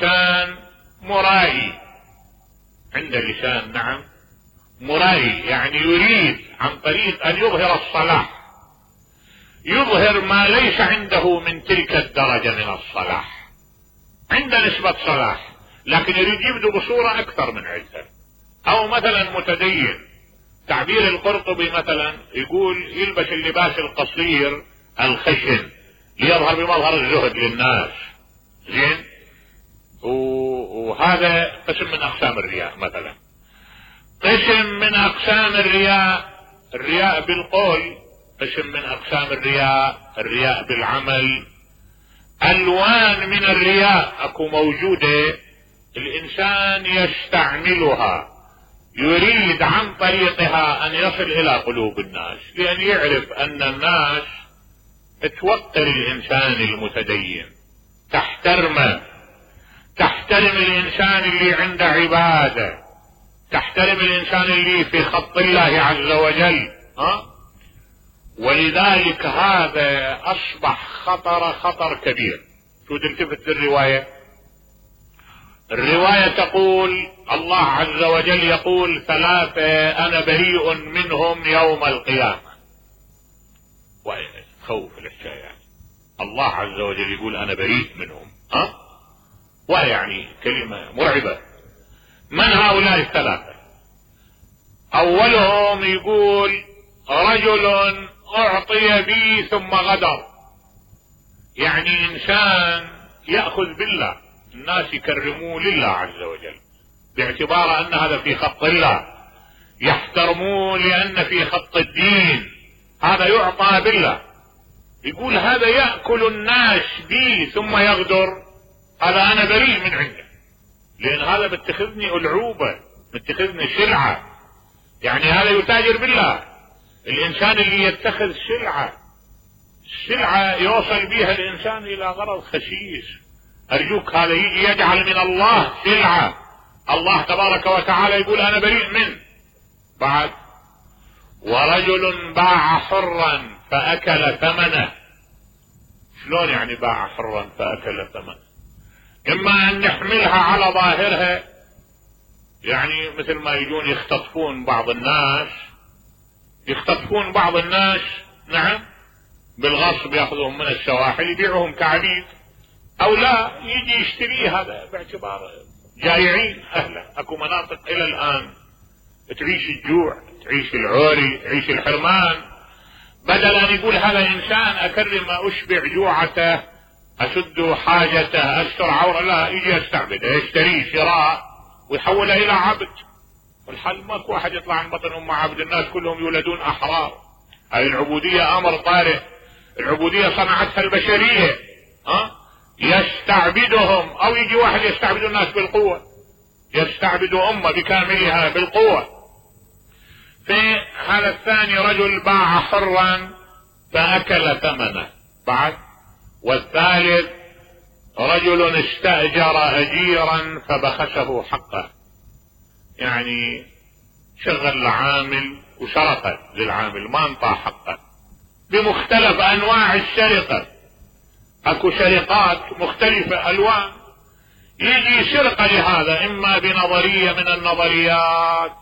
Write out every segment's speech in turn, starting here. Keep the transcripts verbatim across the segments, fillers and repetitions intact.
انسان مرائي، عنده لسان نعم مرائي، يعني يريد عن طريق ان يظهر الصلاح، يظهر ما ليس عنده من تلك الدرجة من الصلاح، عنده نسبة صلاح لكن يريد يبدو بصورة اكثر من عندها. او مثلا متدين، تعبير القرطبي مثلا يقول يلبس اللباس القصير الخشن ليظهر بمظهر الزهد للناس، زين، وهذا قسم من اقسام الرياء. مثلا قسم من اقسام الرياء الرياء بالقول، قسم من اقسام الرياء الرياء بالعمل. الوان من الرياء اكو موجودة، الانسان يستعملها يريد عن طريقها ان يصل الى قلوب الناس، لان يعرف ان الناس توقر الانسان المتدين، تحترمه، تحترم الانسان اللي عنده عبادة، تحترم الانسان اللي في خط الله عز وجل. ها؟ ولذلك هذا اصبح خطر خطر كبير. شو تلتفت الرواية؟ الرواية تقول الله عز وجل يقول ثلاثة انا بريء منهم يوم القيامة. خوف الحكاية يعني. الله عز وجل يقول انا بريء منهم، ها؟ ويعني كلمة مرعبة. من هؤلاء الثلاثة؟ اولهم يقول رجل اعطي بي ثم غدر، يعني انسان يأخذ بالله، الناس يكرموه لله عز وجل باعتبار ان هذا في خط الله، يحترموه لان في خط الدين، هذا يعطى بالله. يقول هذا يأكل الناس بي ثم يغدر، هذا انا بريء من عنده، لان هذا باتخذني العوبة، باتخذني سلعة، يعني هذا يتاجر بالله. الانسان اللي يتخذ سلعة، سلعة يوصل بها الانسان الى غرض خسيس، ارجوك هذا يجي يجعل من الله سلعة، الله تبارك وتعالى يقول انا بريء منه. بعد ورجل باع حرا فاكل ثمنه. شلون يعني باع حرا فاكل ثمنه؟ اما ان نحملها على ظاهرها، يعني مثل ما يجون يختطفون بعض الناس، يختطفون بعض الناس نعم بالغصب، ياخذوهم من السواحل يبيعوهم كعبيد، او لا يجي يشتري هذا باعتبار جائعين اهله. اكو مناطق الى الان تعيش الجوع، تعيش العوري، تعيش الحرمان، بدل ان يقول هذا انسان اكرم اشبع جوعته، اسد حاجته، استر عوره، لا يجي يستعبده، يشتريه شراء ويحوله الى عبد. والحل ماكو واحد يطلع عن بطن ام عبد، الناس كلهم يولدون احرار. هاي العبودية امر طارئ، العبودية صنعتها البشرية. ها؟ يستعبدهم، او يجي واحد يستعبد الناس بالقوة، يستعبد امة بكاملها بالقوة. في هذا الثاني رجل باع حرا فاكل ثمنه. بعد والثالث رجل استأجر اجيرا فبخسه حقه، يعني شغل العامل وسرقه للعامل، ما انطى حقه بمختلف انواع السرقة. اكو سرقات مختلفة الوان، يجي سرقة لهذا اما بنظرية من النظريات،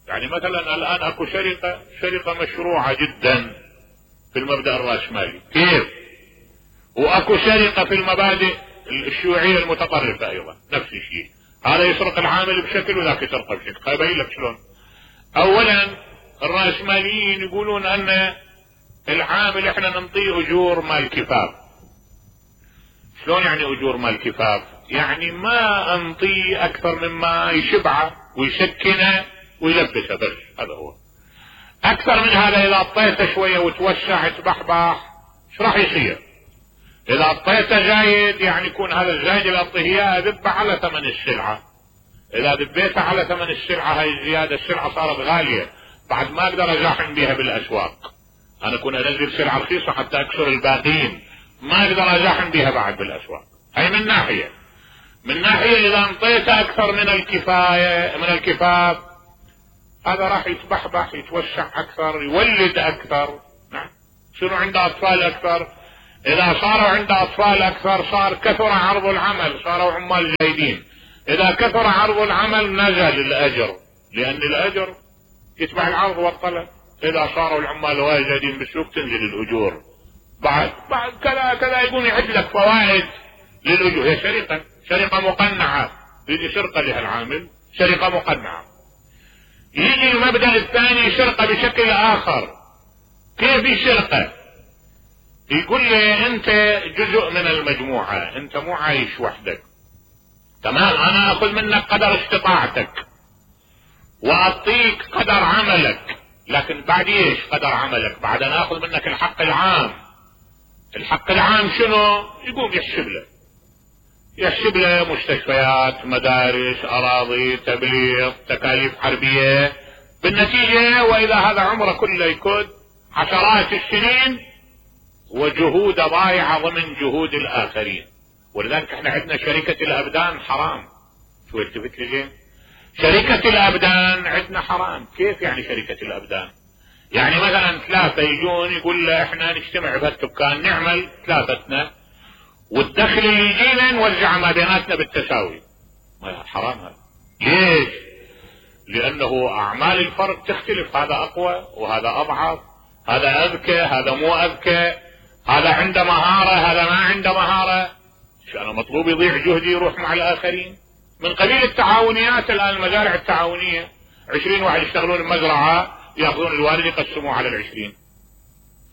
يعني مثلا الان اكو سرقة سرقة مشروعة جدا في المبدأ الرأسمالي، كيف؟ واكو سرقة في المبادئ الشيوعية المتطرفة ايضا نفس الشيء، هذا يسرق العامل بشكل وذاك يسرقه بشكل. خايبين لك شلون؟ اولا الرأسماليين يقولون ان العامل احنا ننطيه اجور مال كفاف. شلون يعني اجور مال كفاف؟ يعني ما انطيه اكثر مما يشبعه ويسكنه ويلبسه، بس هذا هو. اكثر من هذا اذا اعطيته شوية وتوسع تبحبح ايش راح يصير؟ اذا اعطيته زايد يعني يكون هذا الزايد اللي اعطيه اياه ذبه على ثمن السلعة، اذا ذبيته على ثمن السلعة هاي الزيادة السلعة صارت غالية، بعد ما اقدر ازاحم بها بالاسواق، انا كنت انزل سلعة رخيصة حتى اكسر الباقين، ما اقدر ازاحم بها بعد بالاسواق. هاي من ناحية. من ناحية اذا انطيته اكثر من الكفاية من الكفاف، هذا راح يتبحبح يتوسع اكثر، يولد اكثر. نعم، شنو عنده اطفال اكثر، اذا صاروا عنده اطفال اكثر صار كثر عرض العمل، صاروا عمال جيدين. اذا كثر عرض العمل نزل الاجر، لان الاجر يتبع العرض والطلب. اذا صاروا العمال واجدين بالسوق تنزل الاجور. بعد بعد كذا كذا يقوم يعد لك فوائد للاجور. هي شركه شركه مقنعه، يجي سرقه لها العامل، شركه مقنعه. يجي المبدأ الثاني سرقه بشكل اخر. كيف السرقه؟ يقول لي انت جزء من المجموعه، انت مو عايش وحدك، تمام؟ انا اخذ منك قدر استطاعتك واعطيك قدر عملك، لكن بعد ايش قدر عملك؟ بعد انا اخذ منك الحق العام. الحق العام شنو؟ يقوم يحسب له يحسب له مستشفيات، مدارس، اراضي، تبليغ، تكاليف حربيه. بالنتيجه واذا هذا عمره كله يكون عشرات السنين وجهود ضايعه ضمن جهود الاخرين. ولذلك احنا عندنا شركه الابدان حرام. شو التفت لي زين؟ شركه الابدان عندنا حرام. كيف يعني شركه الابدان؟ يعني مثلا ثلاثه يجون يقول له احنا نجتمع بهالدكان نعمل ثلاثتنا، والدخل اللي يجينا نوزعه ما بيناتنا بالتساوي. حرام هذا. ليش؟ لانه اعمال الفرد تختلف، هذا اقوى وهذا اضعف، هذا اذكى هذا مو اذكى، هذا عنده مهارة هذا ما عنده مهارة. شو انا مطلوب يضيع جهدي يروح مع الاخرين؟ من قبيل التعاونيات الان، المزارع التعاونية عشرين واحد يشتغلون المزرعة ياخذون الوالد يقسموه على العشرين.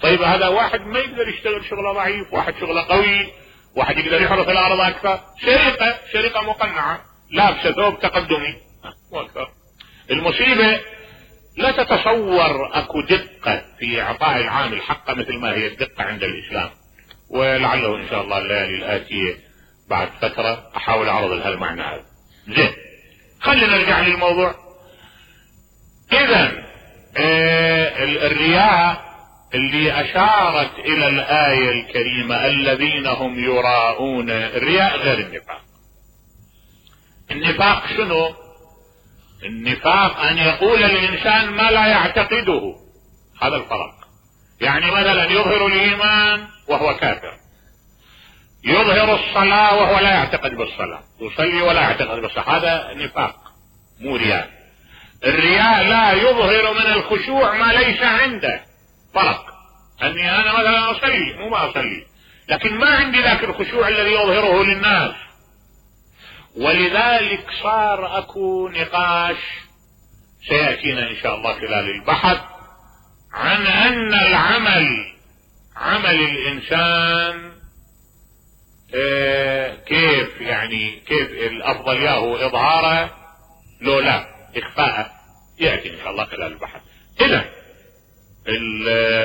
طيب هذا واحد ما يقدر يشتغل شغله ضعيف، واحد شغله قوي، واحد يقدر يحرث الارض اكثر. شركة شركة مقنعة لابسة ثوب تقدمي واكثر. المصيبة لا تتصور اكو دقة في اعطاء العامل حقه مثل ما هي الدقة عند الاسلام. ولعله ان شاء الله الليالي الاتية بعد فترة احاول اعرض لها المعنى هذا. زين، خلينا نرجع للموضوع. اذا آه الرياء اللي اشارت الى الآية الكريمة الذين هم يراءون، الرياء غير النفاق. النفاق شنو؟ النفاق ان يقول الانسان ما لا يعتقده، هذا الفرق. يعني مثلا يظهر الايمان وهو كافر، يظهر الصلاة وهو لا يعتقد بالصلاة، يصلي ولا يعتقد بالصلاة، هذا نفاق مو رياء. الرياء لا يظهر من الخشوع ما ليس عنده. فرق اني انا مثلا اصلي مو ما اصلي، لكن ما عندي ذاك الخشوع الذي يظهره للناس. ولذلك صار اكو نقاش سيأتينا ان شاء الله خلال البحث عن ان العمل عمل الانسان اه كيف يعني كيف الافضل ياهو اظهاره لو لا اخفاءه. يأتي ان شاء الله خلال البحث. اذا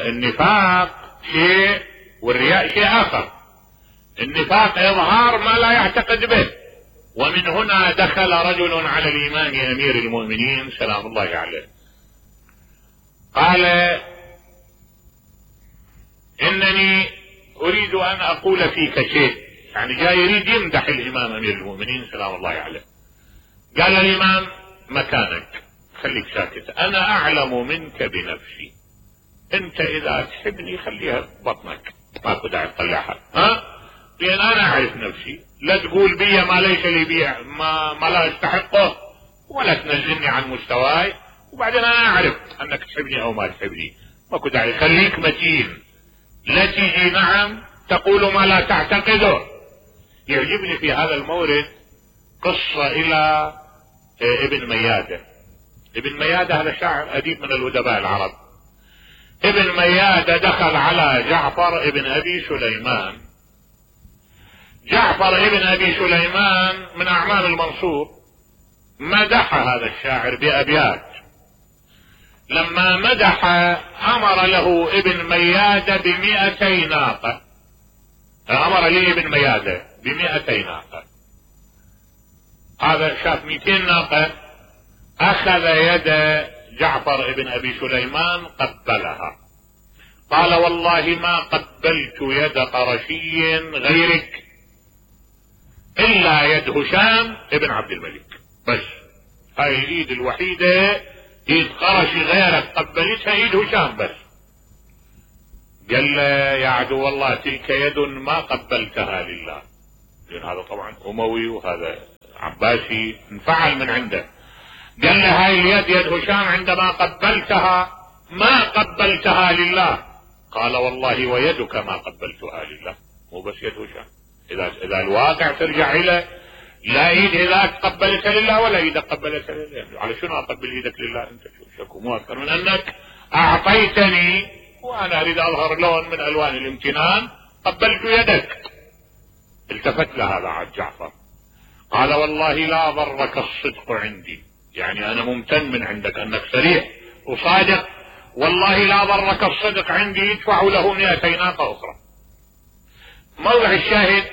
النفاق شيء والرياء شيء اخر. النفاق اظهار ما لا يعتقد به. ومن هنا دخل رجل على الامام امير المؤمنين سلام الله عليه قال انني اريد ان اقول فيك شيء، يعني جاي يريد يمدح الامام امير المؤمنين سلام الله عليه. قال الامام مكانك خليك ساكت، انا اعلم منك بنفسي، انت اذا تحبني خليها ببطنك ماكو داعي تطلعها، ها؟ لان انا اعرف نفسي، لا تقول بي ما ليس لي بي ما, ما لا استحقه، ولا تنزلني عن مستواي، وبعدين انا اعرف انك تحبني او ما تحبني، ماكو داعي. خليك متين، لا تيجي نعم تقول ما لا تعتقده. يعجبني في هذا المورد قصة الى ابن ميادة. ابن ميادة هذا شاعر اديب من الادباء العرب. ابن ميادة دخل على جعفر ابن ابي سليمان. جعفر ابن ابي سليمان من اعمال المنصور، مدح هذا الشاعر بابيات. لما مدح امر له ابن ميادة بمئتي ناقة، امر لي ابن ميادة بمئتي ناقة. هذا شاف مئتين ناقة، اخذ يد جعفر ابن ابي سليمان قبلها، قال والله ما قبلت يد قرشي غيرك الا يد هشام ابن عبد الملك، بس هاي الايد الوحيدة ايد قرشي غيرك قبلتها ايد هشام بس. قال له يا عدو الله تلك يد ما قبلتها لله، لأن هذا طبعا أموي وهذا عباسي انفعل من عنده. قال له هاي اليد يد هشام عندما قبلتها ما قبلتها لله. قال والله ويدك ما قبلتها لله. مو بس يد هشام، اذا اذا الواقع ترجع الى لا ايد اذاك قبلتها لله ولا ايدك قبلتها لله. على شنو اقبل ايدك لله؟ انت شو شكو مو اكثر من انك اعطيتني وانا اريد اظهر لون من الوان الامتنان، قبلت يدك. التفت له هذا عاد جعفر قال والله لا ضرك الصدق عندي، يعني انا ممتن من عندك انك صريح وصادق، والله لا ضرك الصدق عندي، يدفع له مئتي ناقة اخرى. موضع الشاهد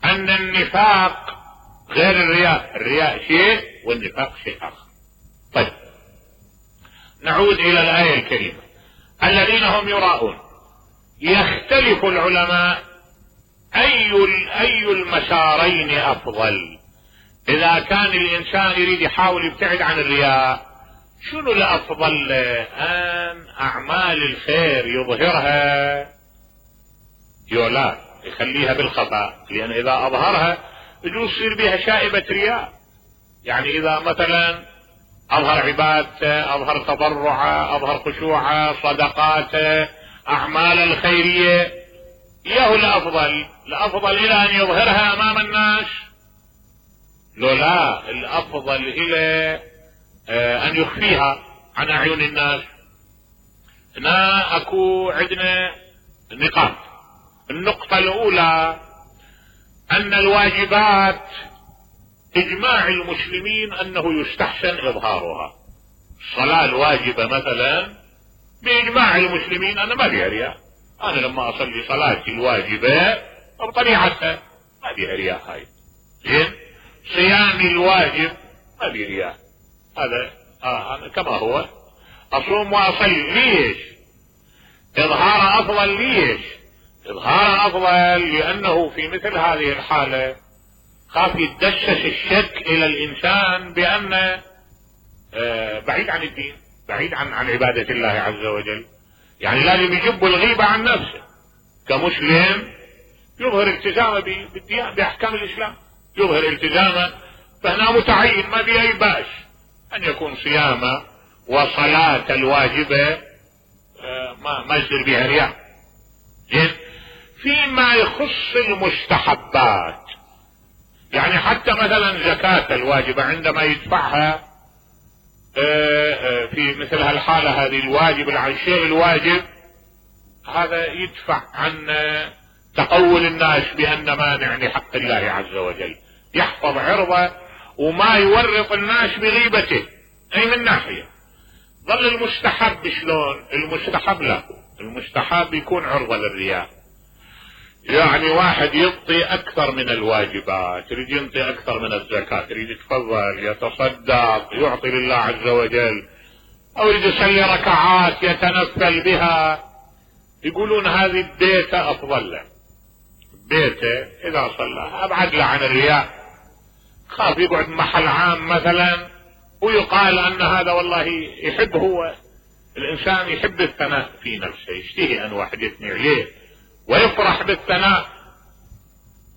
ان النفاق غير الرياء، الرياء شيء والنفاق شيء اخر. طيب نعود الى الآية الكريمة، الذين هم يراءون. يختلف العلماء اي اي المسارين افضل. اذا كان الانسان يريد يحاول يبتعد عن الرياء، شنو الافضل له؟ ان اعمال الخير يظهرها يولا يخليها بالخفاء، لان اذا اظهرها يجوز يصير بها شائبة رياء. يعني اذا مثلا اظهر عبادته، اظهر تضرعه، اظهر خشوعه، صدقاته، اعمال الخيرية، اياه الافضل؟ الافضل الى ان يظهرها امام الناس؟ لو لا، الافضل الى ان يخفيها عن اعين الناس. هنا اكو عندنا نقاط. النقطة الاولى ان الواجبات اجماع المسلمين انه يستحسن اظهارها. الصلاة الواجبة مثلا باجماع المسلمين انا ما بيها رياء. انا لما اصلي صلاتي الواجبة بطبيعتها ما بيها رياء. هاي زين. صيامي الواجب ما بيه رياء، هذا آه أنا كما هو. اصوم واصلي، ليش؟ اظهار افضل. ليش اظهار افضل؟ لانه في مثل هذه الحالة خاف يتدسس الشك الى الانسان بان آه بعيد عن الدين، بعيد عن عن عبادة الله عز وجل. يعني لازم يجب الغيبة عن نفسه كمسلم، يظهر التزامه بالديانة باحكام الاسلام، يظهر التزامه، فهنا متعين ما بأي بأس ان يكون صيامه وصلاة الواجبة آه ما ما يصير بها رياء. زين. فيما يخص المستحبات، يعني حتى مثلا زكاة الواجبة عندما يدفعها في مثل هالحالة هذه الواجب عن الشيء الواجب، هذا يدفع عن تقول الناس بأن مانع لحق الله عز وجل، يحفظ عرضه وما يورط الناس بغيبته. اي من ناحية. ظل المستحب شلون؟ المستحب لا، المستحب يكون عرضة للرياء. يعني واحد يعطي اكثر من الواجبات، يريد يعطي اكثر من الزكاة، يريد يتفضل يتصدق يعطي لله عز وجل، او يريد يصلي ركعات يتنفل بها، يقولون هذه بيته افضل له. بيته اذا صلى ابعد له عن الرياء. خاف يقعد محل عام مثلا ويقال ان هذا والله يحب، هو الانسان يحب الثناء في نفسه، يشتهي ان واحد يثني عليه ويفرح بالثناء،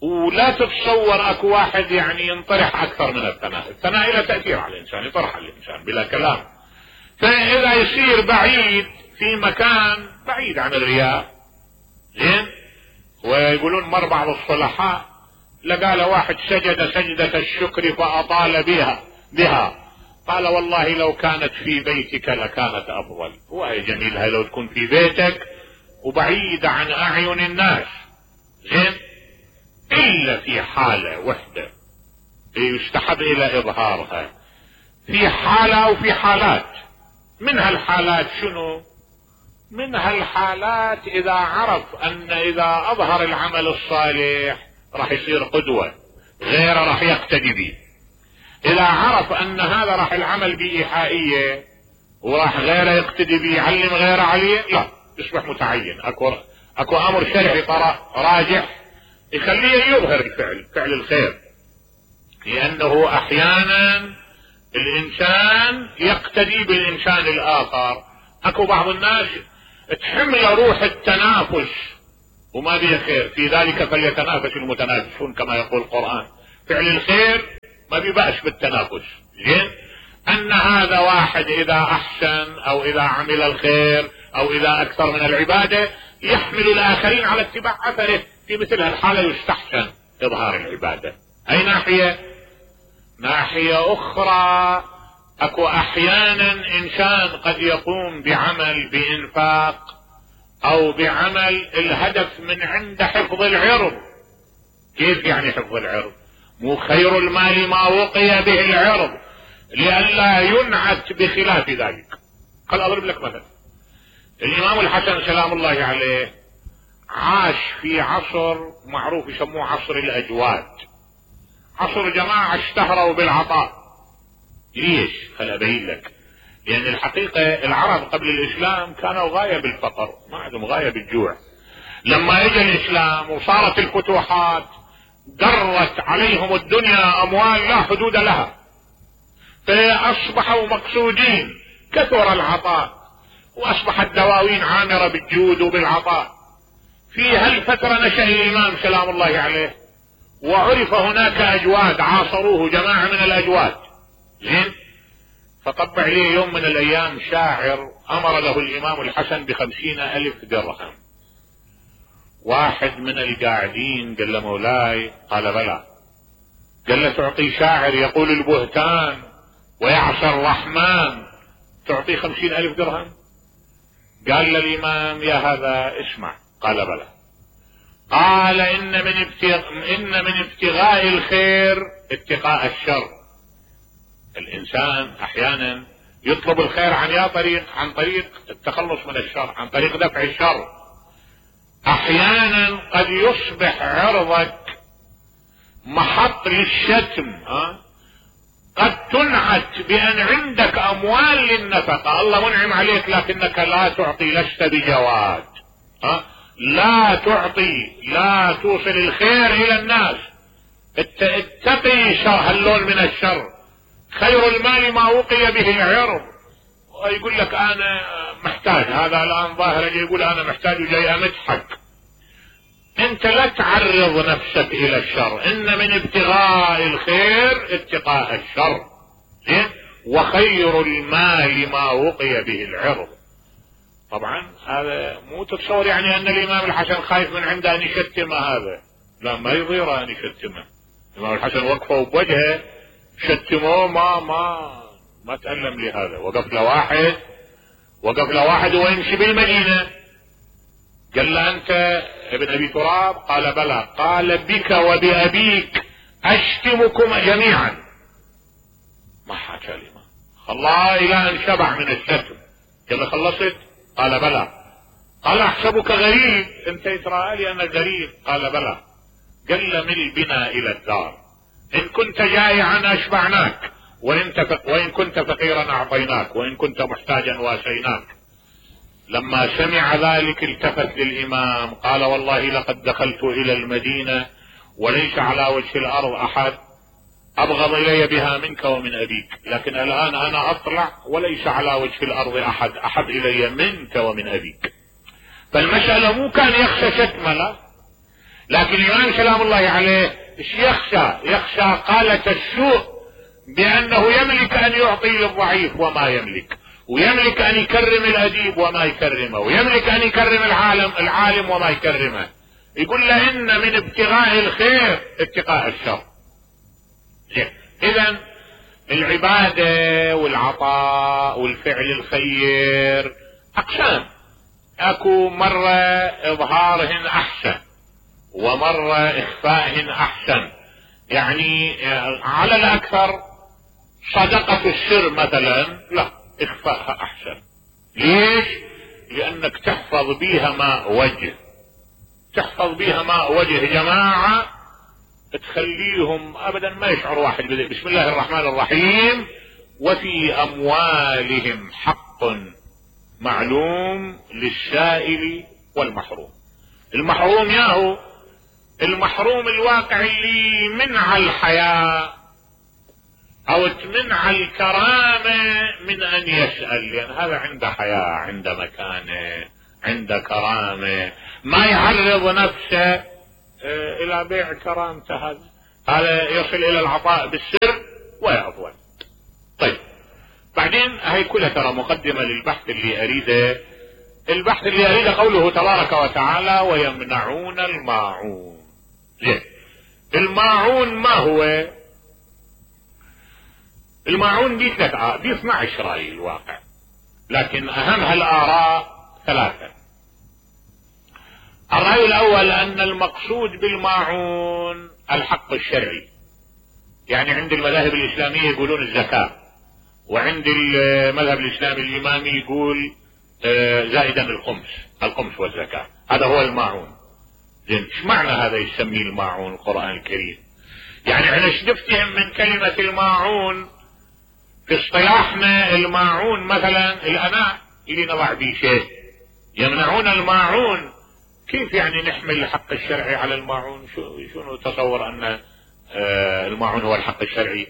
ولا تتصور اكو واحد يعني ينطرح اكثر من الثناء. الثناء له تأثير على الانسان، يطرح الانسان بلا كلام. فاذا يصير بعيد في مكان بعيد عن الرياء، زين. ويقولون مر بعض الصلحاء لقال واحد سجد سجدة الشكر فاطال بها بها قال والله لو كانت في بيتك لكانت افضل. وهي جميلها لو تكون في بيتك وبعيدة عن اعين الناس، زين. الا في حالة وحدة يستحب الى اظهارها، في حالة وفي حالات. من هالحالات شنو؟ من هالحالات اذا عرف ان اذا اظهر العمل الصالح راح يصير قدوة، غيره راح يقتدي به. اذا عرف ان هذا راح العمل بإيحائية وراح غيره يقتدي به، يعلم غيره عليه، لا يصبح متعين. اكو اكو امر شرعي راجح يخليه يظهر الفعل، فعل الخير، لانه احيانا الانسان يقتدي بالانسان الاخر. اكو بعض الناس تحمل روح التنافس وما بيه خير، في ذلك فليتنافس المتنافسون كما يقول القرآن. فعل الخير ما بيبقاش بالتنافس. زين، ان هذا واحد اذا احسن او اذا عمل الخير او اذا اكثر من العبادة يحمل الاخرين على اتباع اثره، في مثل هالحالة يستحسن اظهار العبادة. اي ناحية؟ ناحية اخرى، اكو احيانا انسان قد يقوم بعمل بانفاق او بعمل الهدف من عند حفظ العرض. كيف يعني حفظ العرض؟ مو خير المال ما وقي به العرض لئلا ينعت بخلاف ذلك. خل اضرب لك مثلا. الامام الحسن سلام الله عليه عاش في عصر معروف يسموه عصر الاجواد، عصر جماعة اشتهروا بالعطاء. ليش؟ خل ابين لك. لان الحقيقة العرب قبل الاسلام كانوا غاية بالفقر، ما عندهم غاية بالجوع. لما اجى الاسلام وصارت الفتوحات درت عليهم الدنيا اموال لا حدود لها، فاصبحوا مقصودين، كثر العطاء واصبحت دواوين عامرة بالجود وبالعطاء. في هالفترة نشأ الامام سلام الله عليه وعرف هناك اجواد عاصروه، جماعة من الاجواد. زين، فطبع ليه يوم من الايام شاعر امر له الامام الحسن بخمسين الف درهم. واحد من القاعدين قال له مولاي، قال بلى. قال له تعطي شاعر يقول البهتان ويعصى الرحمن تعطي خمسين الف درهم؟ قال للامام يا هذا اسمع. قال بلى. قال ان من ابتغاء ان من ابتغاء الخير اتقاء الشر. الانسان احيانا يطلب الخير عن يا طريق عن طريق التخلص من الشر، عن طريق دفع الشر. احيانا قد يصبح عرضك محط للشتم، ها؟ قد تنعت بان عندك اموال للنفقة، الله منعم عليك لكنك لا تعطي، لست بجواد، ها؟ لا تعطي، لا توصل الخير الى الناس. اتقي هاللون من الشر. خير المال ما وقي به العرض. ويقول لك انا محتاج، هذا الان ظاهر يقول انا محتاج وجاي امدحك. انت لا تعرض نفسك الى الشر، ان من ابتغاء الخير اتقاء الشر. وخير المال ما وقي به العرض. طبعا هذا مو تتصور يعني ان الامام الحسن خايف من عنده ان يشتمه، هذا لا، ما يضيره ان يشتمه. الامام الحسن وقفه بوجهه شتموه، ما ما ما تألم لهذا. وقف له واحد وقف له واحد ويمشي بالمدينة، قال له انت ابن ابي تراب؟ قال بلى. قال بك وبأبيك اشتمكم جميعا. ما حكى كلمة، خلاه الى ان شبع من الشتم. قال له خلصت؟ قال بلى. قال احسبك غريب، انت ترى لي انا غريب؟ قال بلى. قال له مل بنا الى الدار، ان كنت جائعا اشبعناك، وإن, وإن كنت فقيرا اعطيناك، وإن كنت محتاجا واسيناك. لما سمع ذلك التفت للامام قال والله لقد دخلت الى المدينة وليس على وجه الارض احد ابغض الي بها منك ومن ابيك، لكن الان انا اطلع وليس على وجه الارض احد احب الي منك ومن ابيك. فالمسألة مو كان يخشى شتمه، لا، لكن الامام سلام الله عليه ايش يخشى؟ يخشى قالة السوء، بانه يملك ان يعطي للضعيف وما يملك، ويملك ان يكرم الاديب وما يكرمه، ويملك ان يكرم العالم العالم وما يكرمه. يقول له ان من ابتغاء الخير اتقاء الشر. اذا العبادة والعطاء والفعل الخير اقسام، اكو مرة اظهارهن احسن ومرة اخفائهن احسن. يعني على الاكثر صدقة السر مثلا لا، اخفائها احسن. ليش؟ لانك تحفظ بيها ماء وجه، تحفظ بيها ماء وجه جماعة، تخليهم ابدا ما يشعر واحد بذلك. بسم الله الرحمن الرحيم. وفي اموالهم حق معلوم للسائل والمحروم. المحروم ياهو المحروم الواقع اللي منع الحياة او تمنع الكرامة من ان يسأل، لان هذا عنده حياة، عنده مكانة، عنده كرامة، ما يعرض نفسه الى بيع كرامته، هذا هذا يصل الى العطاء بالسر ويعطون. طيب بعدين هي كلها ترى مقدمة للبحث اللي اريده. البحث اللي اريده قوله تبارك وتعالى ويمنعون الماعون. زين، الماعون ما هو؟ الماعون دي ثلاث دي اثنى عشر رأي الواقع، لكن اهم هالاراء ثلاثة. الرأي الاول ان المقصود بالماعون الحق الشرعي، يعني عند المذاهب الاسلامية يقولون الزكاة، وعند المذهب الاسلامي الامامي يقول زائدا الخمس، الخمس والزكاة، هذا هو الماعون. زين، ايش معنى هذا يسميه الماعون القرآن الكريم؟ يعني احنا ايش نفتهم من كلمة الماعون؟ في اصطلاحنا الماعون مثلا الاناء اللي نضع به شيء. يمنعون الماعون، كيف يعني نحمل الحق الشرعي على الماعون؟ شو شنو تصور ان آه الماعون هو الحق الشرعي؟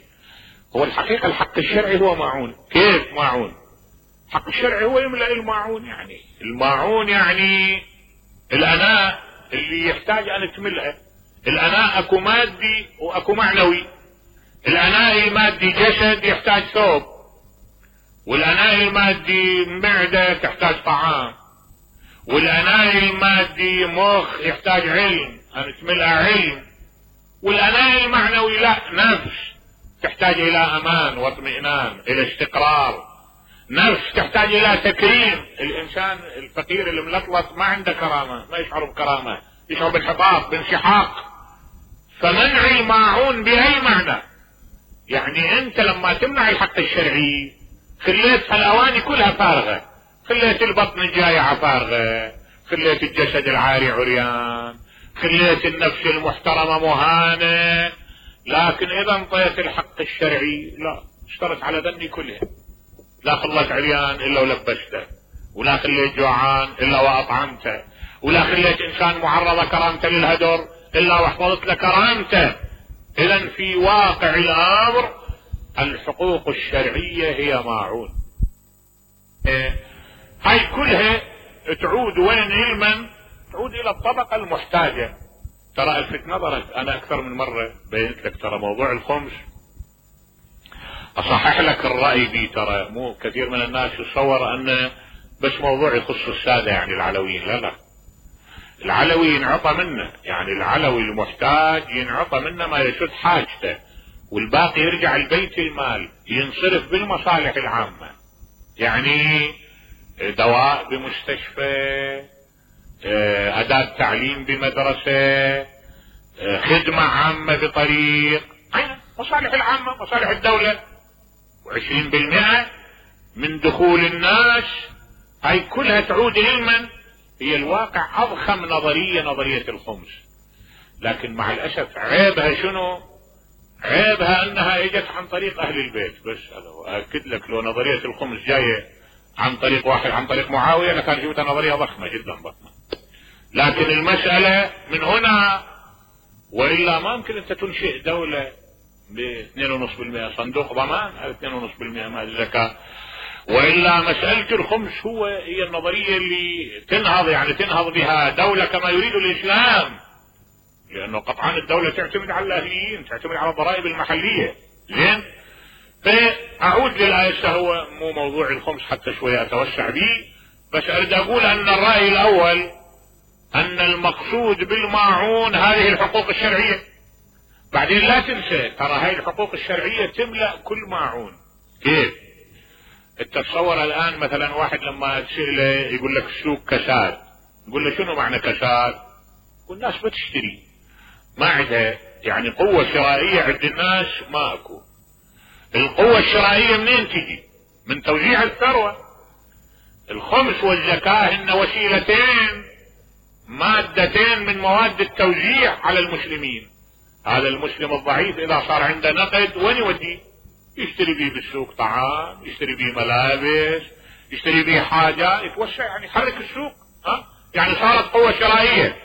هو الحقيقة الحق الشرعي هو ماعون. كيف ماعون؟ الحق الشرعي هو يملأ الماعون، يعني الماعون يعني الاناء اللي يحتاج ان تملأه. الاناء اكو مادي واكو معنوي. الاناء المادي جسد يحتاج ثوب، والاناء المادي معدة تحتاج طعام، والاناء المادي مخ يحتاج علم ان تملأ علم، والاناء المعنوي لا، نفس تحتاج الى امان واطمئنان، الى استقرار، نفس تحتاج الى تكريم. الانسان الفقير الملطلط ما عنده كرامة، ما يشعر بكرامة، يشعر بانحطاط بانسحاق. فمنع الماعون بأي معنى؟ يعني انت لما تمنع الحق الشرعي خليت الاواني كلها فارغة، خليت البطن الجايعة فارغة، خليت الجسد العاري عريان، خليت النفس المحترمة مهانة. لكن اذا انطيت الحق الشرعي لا، اشترط على ذني كلها، لا خليت عريان الا ولبسته، ولا خليت جوعان الا واطعمته، ولا خليت انسان معرضة كرامته للهدر الا واحفظت له كرامته. اذا في واقع الامر الحقوق الشرعية هي ماعون. هاي كلها تعود وين علما؟ تعود الى الطبقة المحتاجة. ترى الفت نظرك، انا اكثر من مرة بينت لك ترى موضوع الخمس، اصحح لك الرأي بي، ترى مو كثير من الناس يتصور ان بس موضوع يخص السادة يعني العلويين، لا لا، العلوي ينعطى منه، يعني العلوي المحتاج ينعطى منه ما يسد حاجته، والباقي يرجع البيت المال ينصرف بالمصالح العامة. يعني دواء بمستشفى، أداة تعليم بمدرسة، خدمة عامة بطريق، مصالح العامة، مصالح الدولة. وعشرين بالمئة من دخول الناس هاي كلها تعود علما. هي الواقع اضخم نظرية، نظرية الخمس، لكن مع الاسف عيبها شنو؟ عيبها انها اجت عن طريق اهل البيت بس. هذا واكد لك لو نظرية الخمس جاية عن طريق واحد، عن طريق معاوية، لكان جبتها نظرية ضخمة جدا ضخمة. لكن المسألة من هنا، والا ما يمكن انت تنشئ دولة ب اثنين ونص بالمئة صندوق ضمان على اثنين ونص بالمئة مال الزكاة. والا مسألة الخمس هو هي النظرية اللي تنهض، يعني تنهض بها دولة كما يريد الاسلام، لانه قطعا الدولة تعتمد على الاهليين، تعتمد على الضرائب المحلية. زين، فاعود للآية، هو مو موضوع الخمس حتى شوية اتوسع به، بس اريد اقول ان الرأي الاول ان المقصود بالماعون هذه الحقوق الشرعية. بعدين لا تنسى ترى هاي الحقوق الشرعية تملأ كل ماعون. كيف؟ تتصور الان مثلا واحد لما تسأله يقول لك السوق كساد، يقول له شنو معنى كساد؟ والناس بتشتري، ما عندها يعني قوة شرائية عند الناس، ما اكو. القوة الشرائية منين تجي؟ من توزيع الثروة. الخمس والزكاة هن وسيلتين، مادتين من مواد التوزيع على المسلمين. هذا المسلم الضعيف اذا صار عنده نقد وين يوديه؟ يشتري بيه بالسوق طعام، يشتري بيه ملابس، يشتري بيه حاجة، يتوسع، يعني يحرك السوق. ها؟ يعني صارت قوة شرائية.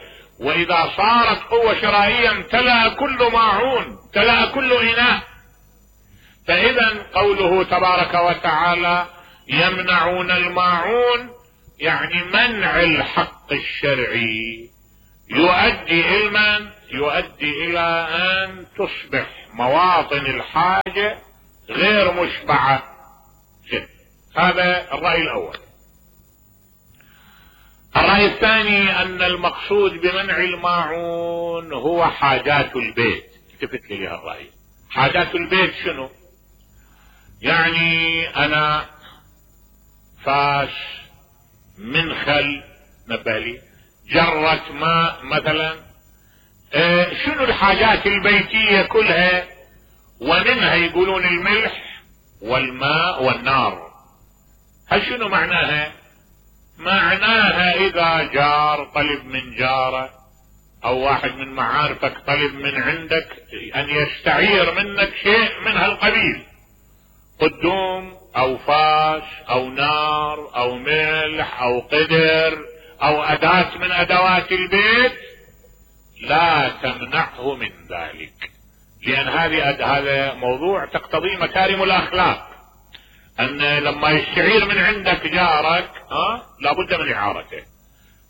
واذا صارت قوة شرائية امتلأ كل ماعون، امتلأ كل اناء. فاذا قوله تبارك وتعالى يمنعون الماعون، يعني منع الحق الشرعي يؤدي الى من؟ يؤدي الى ان تصبح مواطن الحاجة غير مشبعة جدا. هذا الرأي الاول. الرأي الثاني ان المقصود بمنع الماعون هو حاجات البيت. التفت لي الرأي. حاجات البيت شنو؟ يعني انا فاش منخل نبالي جرة ماء مثلا، اه شنو الحاجات البيتية كلها، ومنها يقولون الملح والماء والنار. هل شنو معناها؟ معناها اذا جار طلب من جاره او واحد من معارفك طلب من عندك ان يستعير منك شيء من هالقبيل، قدوم او فاش او نار او ملح او قدر او اداة من ادوات البيت، لا تمنعه من ذلك، لان هذه هذا موضوع تقتضي مكارم الاخلاق، ان لما يستعير من عندك جارك ها لابد من اعارته.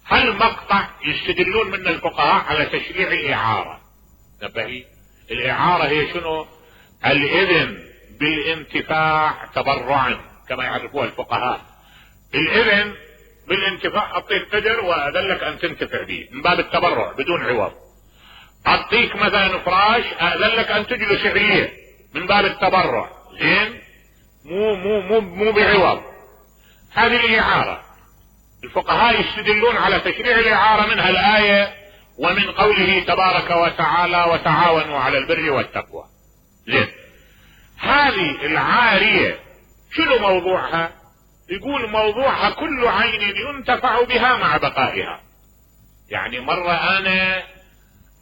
هل مقطع يستدلون من الفقهاء على تشريع الاعارة؟ نبهي الاعارة هي شنو؟ الاذن بالانتفاع تبرعا كما يعرفوها الفقهاء. الاذن بالانتفاع، اعطيك قدر واذلك ان تنتفع به من باب التبرع بدون عوض. اعطيك مثلا فراش اذلك ان تجلس عليه من باب التبرع، زين؟ مو مو مو مو بعوض. هذه الاعارة. الفقهاء يستدلون على تشريع الاعارة منها الاية ومن قوله تبارك وتعالى وتعاونوا على البر والتقوى. زين، هذه العارية شنو موضوعها؟ يقول موضوعها كل عين ينتفع بها مع بقائها. يعني مرة انا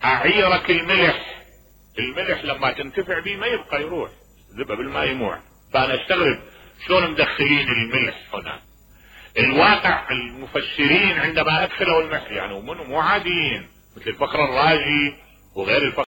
اعيرك الملح، الملح لما تنتفع به ما يبقى، يروح ذبه بالماء يموع. فانا استغرب شلون مدخلين الملح هنا. الواقع المفسرين عندما ادخلوا الملح يعني مو عاديين مثل الفخر الرازي وغير الفخر